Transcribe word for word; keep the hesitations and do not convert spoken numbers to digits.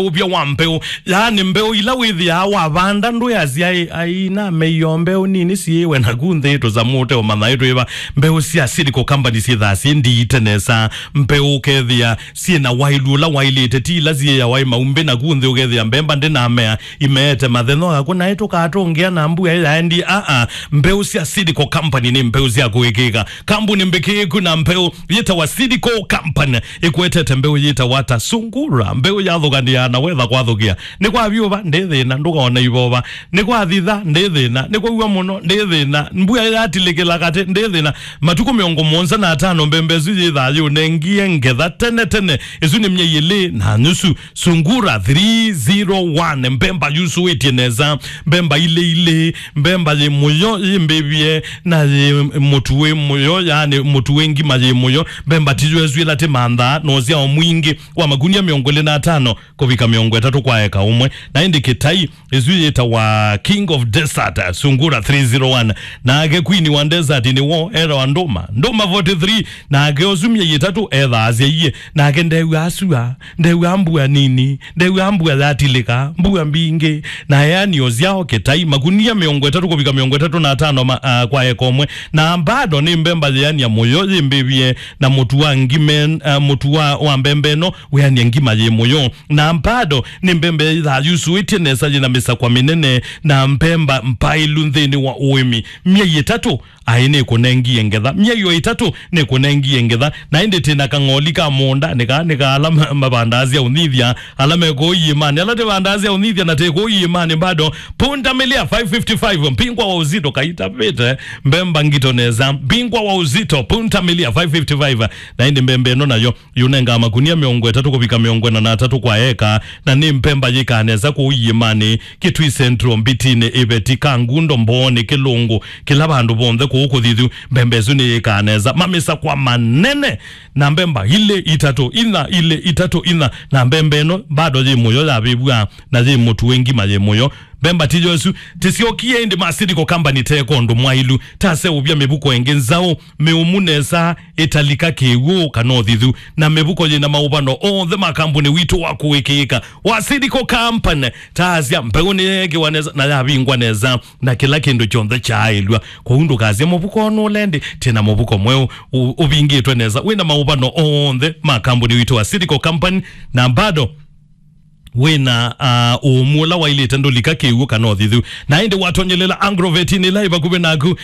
ũvya wa mbeũ, yaani mbeũ ila wĩthĩaa wavanda ndwĩasya, "Ai, ai, nameio mbeũ nini syĩwe naku nthĩ tũsamũ ũteũmanya ĩtwĩva." Mbeũ sya Seed Co Company syĩthaa syĩ ndiite nesa. Mbeũ ũkethĩa syĩ na waĩlu ũla waĩlĩte, ti ila syĩawa ĩ maumbĩ naku nthĩ ũkethĩa mbemba ndĩnamea, imeete mathenya akũ naĩ tũkatũngĩa na mbua ĩyaendie. Aa, mbeũ sya Seed Co Company nĩ mbeũ sya kũĩkĩĩka. Kambuni mbĩkĩĩku na mbeũ yĩtawa Seed Co Company ĩkwetete mbeũ yĩtawa ta Sungura, mbeũ yathũkanĩaa na wetha kwathũkĩa. Nĩ kwa vyũva, ndĩ thĩna, ndũkaona ivova. Nĩ kwa thitha, ndĩ thĩna. Nĩ kwa w'o mũno, ndĩ thĩna. Mbua yatilĩkĩla katĩ, ndĩ thĩna. Matukũ mĩongo mũonza na atano mbemba ĩsu yĩthaa yĩũnengie ngetha tene tene. Ĩsu nĩ myei ĩlĩ na nyusu. Sungura three zero one, mbemba yusũĩtye nesa, mbemba ilĩ ilĩ, mbemba yĩ mũyo yĩ mbĩvye, na yĩ mũtu wĩ mũyo, yaani mũtu wĩ ngima yĩ mũyo, mbemba tiyo ĩsu ĩla tĩmanthaa, na ũsyao mwingĩ wa makunia mĩongo ĩlĩ na atano kũvika mĩongo ĩtatũ kwa eka ũmwe. Na ĩndĩ kĩtai, ĩsu yĩtawa King of Desert, Sungura three zero one. Nake Queen wa Desert nĩwo etawa Ndũma, Ndũma forty three. Nake ũsu myei ĩtatũ ethaasya iye, nake ndew'aa sua, ndew'aa mbua nini, ndew'aa mbua yatilĩka, mbua mbingĩ. Na eanio syao kĩtai, makunia mĩongo ĩtatũ kũvika mĩongo ĩtatũ na atano ma, ah, kwa eka ũmwe. Na bado nĩ mbemba yĩania mũyo yĩmbĩvye, na mũtu wa ngime, ah, mũtu wa, wa mbemba ĩno wĩania ngima yĩ mũyo. Na bado nĩ mbemba yĩthaa yusũĩtye nesa, yĩna mĩsakwa mĩnene, na mbemba mpaĩlu nthĩnĩ wa ũĩmi. Myei ĩtatũ, aĩ nĩkũnengie ngetha. Myei o ĩtatũ nĩkũnengie ngetha. Na ĩndĩ tĩna kang'oli ka mũũnda, nĩka, nĩka ala ma-, mavandaa sya ũnyithya, ala me kũu iĩmanĩ, ala tĩvandaa sya ũnyithya na tĩ kũu iĩmanĩ bado. Punda milia five fifty-five, mpingwa wa uzito kaitavĩte, mbemba ngito nesa, mpingwa wa uzito, punda milia five fifty-five. Na ĩndĩ mbemba ĩno nayo yũnengaa makunia mĩongo ĩtatũ kũvika mĩongo ĩna na atatũ kwa eka, na nĩ mbemba yĩkaa nesa kũu iĩmanĩ, Kitui Central, Mbitinĩ, Iveti, Kangundo, Mbooni, Kĩlũngũ, kĩla vandũ vonthe kũu kũthithu, mbemba ĩsu nĩyĩkaa nesa. Mamĩsakwa manene, na mbemba ilĩ, itatũ, inya, ilĩ, itatũ, inya, na mbemba ĩno bado yĩ mũyo yavĩvw'a, na yĩ mũtu wĩ ngima yĩ mũyo. Mbemba tiyo ĩsu, tĩsyokie ĩndĩ ma Seed Co Company teko ũndũ mwaĩlu, taseũvya mĩvuko ĩngĩ nzaũ, mĩũmu nesa, ĩtalika kĩw'ũ kana ũthithu, na mĩvuko yĩna maũvano onthe ma kambuni witũ wa kũĩkĩĩka wa Seed Co Company. Taasya mbeũ nĩyeekĩwa nesa na yavingwa nesa, na kĩla kĩndũ kyonthe kyaaĩlw'a. Kwoou ndũkasye mũvuko nũlendi, twĩna mũvuko mweũ ũ-, ũvingĩtwe nesa, wĩna maũvano onthe ma kambuni witũ wa Seed Co Company, na bado wĩna, ah, ũũmu ũla wailĩte ndũlika kĩw'ũ kana ũthithu. Na ĩndĩ watonyelela Agrovet ĩla ĩ vakuvĩ naku,